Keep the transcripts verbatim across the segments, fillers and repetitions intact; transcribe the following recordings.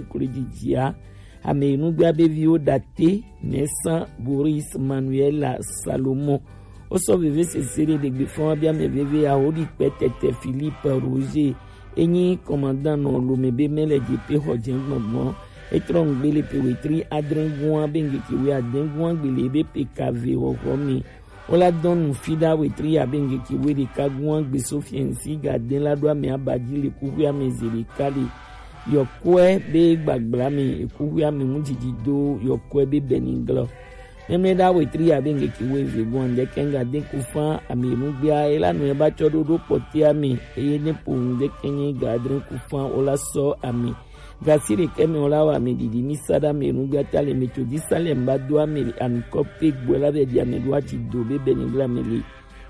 Klo jijia, ame yi nugbe abe viwo date, Nesa, Boris, Manuela, Salomo. Wo sɔ veve sese ɖe ɖegbe fɔn wa bi ame veve aho ɖi kpɛ tɛtɛ Philippe Roger. Enyi kɔmandan nɔ lome be mɛ le jepe xɔ jɛ gbɔngbɔn. Etrɔ ŋgbe le pe wetri adrɛn gua be ŋgeke we adɛn gua gbele be pe kave xɔxɔ mi. Wo la dɔn nu fi ɖa wetri ya be ŋgeke we ɖeka gua gbe so fiɛnsi ga dɛn la ɖo ame aba ji le kuxu ame ze ɖeka le. Yɔkɔɛ be gbagbla mi ekuxu ame mu jiji do yɔkɔɛ be bɛni glɔ. Mɛmlɛ ɖa wetri ya be ŋgeke we ve gua ŋdɛkɛ ŋga dɛn ku fan ame nu gbea ela nu eba tsɔ ɖo ɖo kpɔtɛ ame eye ne po ŋdɛkɛ nye ga adrɛn ku fan wo la sɔ ame. Gasi ɖekɛ mɛ wo la wa ame ɖiɖi mi sa ɖa ame nu gbea ta le metodi sa le mba do ame le anukɔ pe gbɔ la be ɖi ame ɖo ati do be bɛni glɔ ame le.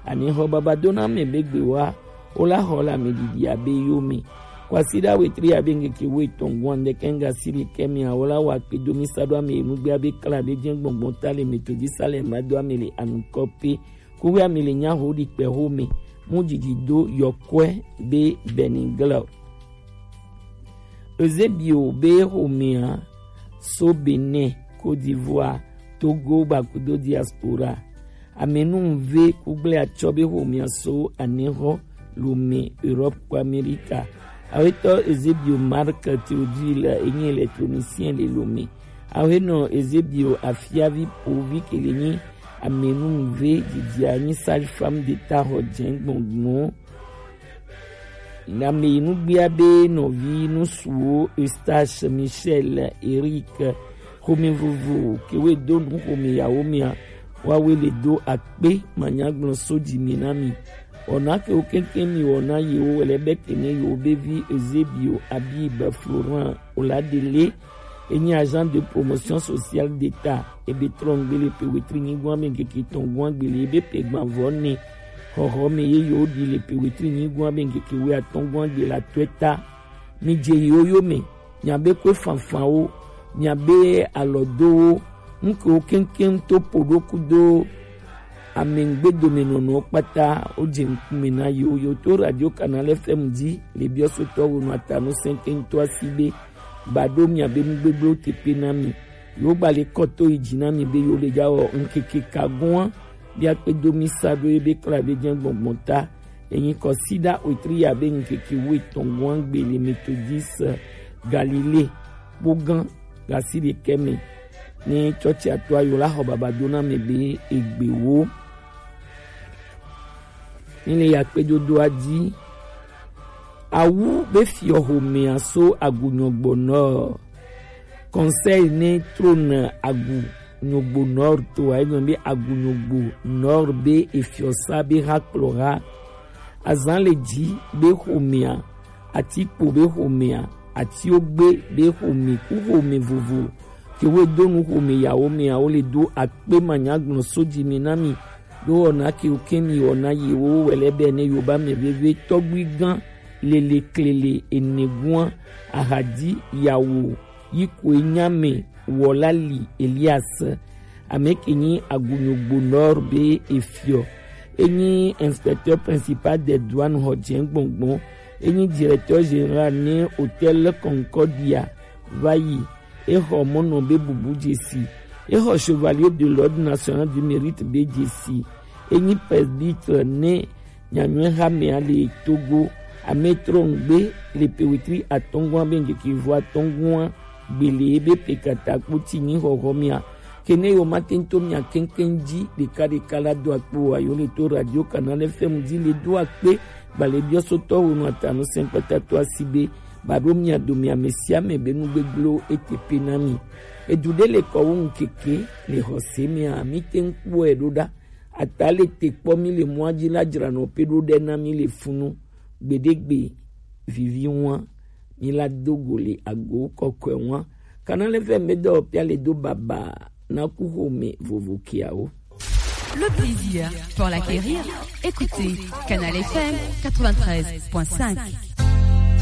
Ani xɔ baba do na ame be gbe wa wo la xɔ le ame ɖiɖi abe yo mi. Kwasi ɖa wetri abe ŋgeke wo etɔn gua ŋdɛkɛ ŋga si ɖekɛ mɛ wo la wa kpe do mi sa ɖo ame nu gbea be kla be jɛ gbɔngbɔn ta le metodi sa le mba do ame le anukɔ pe. Kuxu ame le nya ho ɖi kpɛ ho me mu jiji do yɔkɔɛ be bɛni glɔ. Eusebio be xomea so Benin, Côte d'Ivoire, Togo gbakudo diaspora. Amenuve kugble atsɔ be xomea so anexɔ lome Europe ko Amerika. Awetɔ Eusebio Marc Théodule enyi électronicien le lome. Awenɔ Eusebio afiavi povi kele nyi amenuve didia nyi sage-femme d'État xɔ jɛ gbɔngbɔn. Ame yi nugbea be nɔvi nusuwo Eustache, Michel, Eric, xome vovo kewoe do nu xome yawo mea, woawoe le do akpe manyagblɔ so dzi mi na mi. Wɔna kewo keŋkeŋ mi wɔna yewo wɛlɛ be kene yewo be vi Eusebio, Abib, Florent, Oladele, enyi agent de promotion sociale d'État, ebe trɔ ŋgbe le pe wetri nyigɔn ame ŋkeke tɔn gɔn agbele ebe pe gban vɔ ne xɔxɔ me ye yewo ɖi le pe wetri nyigɔn ame ŋkeke we atɔn gɔn agbele atɔe ta. Mi dze yewo yo me, miabe kue fanfanwo, miabe alɔdowo, nukewo keŋkeŋ to po ɖo kudo ame ŋgbedomenɔnɔwo kpata wodze ŋkume na yewo. Yewo to Radio Canal F M dzi le biɔsotɔ wonu atanu sɛnkɛŋtɔ asi be ba ɖo miabe nugbegblẽwo teƒe na mi. Yewo gba le kɔ to yi dzi na mi be yewo le dza wɔ ŋkeke ka gɔ̃a be akpe do mi sa ɖo ye be kla be dze gbɔngbɔn ta. Enyi kɔsiɖa wetri ya be ŋkeke wuietɔ̃ gɔ̃a gbe le Methodist Galilée kpogã gasi ɖekɛ me. Ne tsɔtsia to ayo la xɔ baba do na me be egbewo. Ni le yakpedodoa dzi. Awu be fiɔ xomea so agunyɔgbo nɔ. Conseil ne trône agunyɔgbo nɔ to ayi be agunyɔgbo nɔ be efiɔ sa be ha kplɔ ha. Azan le dzi be xomea, atikpo be xomea, atiogbe be xome ku xome vovo. Kewoe do nu xome yawo mea, wo le do akpe manyagblɔ so dzi mi na mi. Ɖo wɔna kewo ke mi wɔna yewo wɛlɛ be ne yoba me veve tɔgbui gã lele klele ene gua ahadi yawo yi koe nya me wɔla li Elias. Ame ke nyi agunyogbo nɔ be efiɔ. Enyi inspecteur principal des douanes xɔ dze gbɔngbɔn. Enyi directeur général ne Hôtel Concordia va yi. Exɔ mɔnɔ be bubu dzesi. Exɔ Chevalier de l'Ordre National du Mérite be dzesi. Enyi presbytre ne nyanyɔe hamea le Togo. Ame trɔ ŋgbe le pewetri atɔngua be ŋkeke vo atɔngua gbele ebe pekata kpoti nyi xɔxɔ mia. Kene yo mate ŋutɔ mia keŋkeŋ dzi ɖeka ɖeka la do akpe wa yo le to Radio Canal F M dzi le do akpe gbalẽ biɔsotɔ wo nɔ atanu sɛnkpata to asi be ba ɖo mia dome ame sia ame be nugbegblẽwo ete pe na mi. Edu ɖe le kɔ wo ŋkeke le xɔse mia mi te ŋkpɔe ɖo ɖa. Ata le te kpɔ mi le mɔa dzi la dzra nɔ pe ɖo ɖe na mi le funu. Gbeɖegbe vivi ŋua mi la do go le ago kɔkɔe ŋua. Kana le fɛ me dɔ pia le do baba na ku xome vovo kiawo. Le plaisir pour l'acquérir, écoutez Canal F M quatre-vingt-treize point cinq.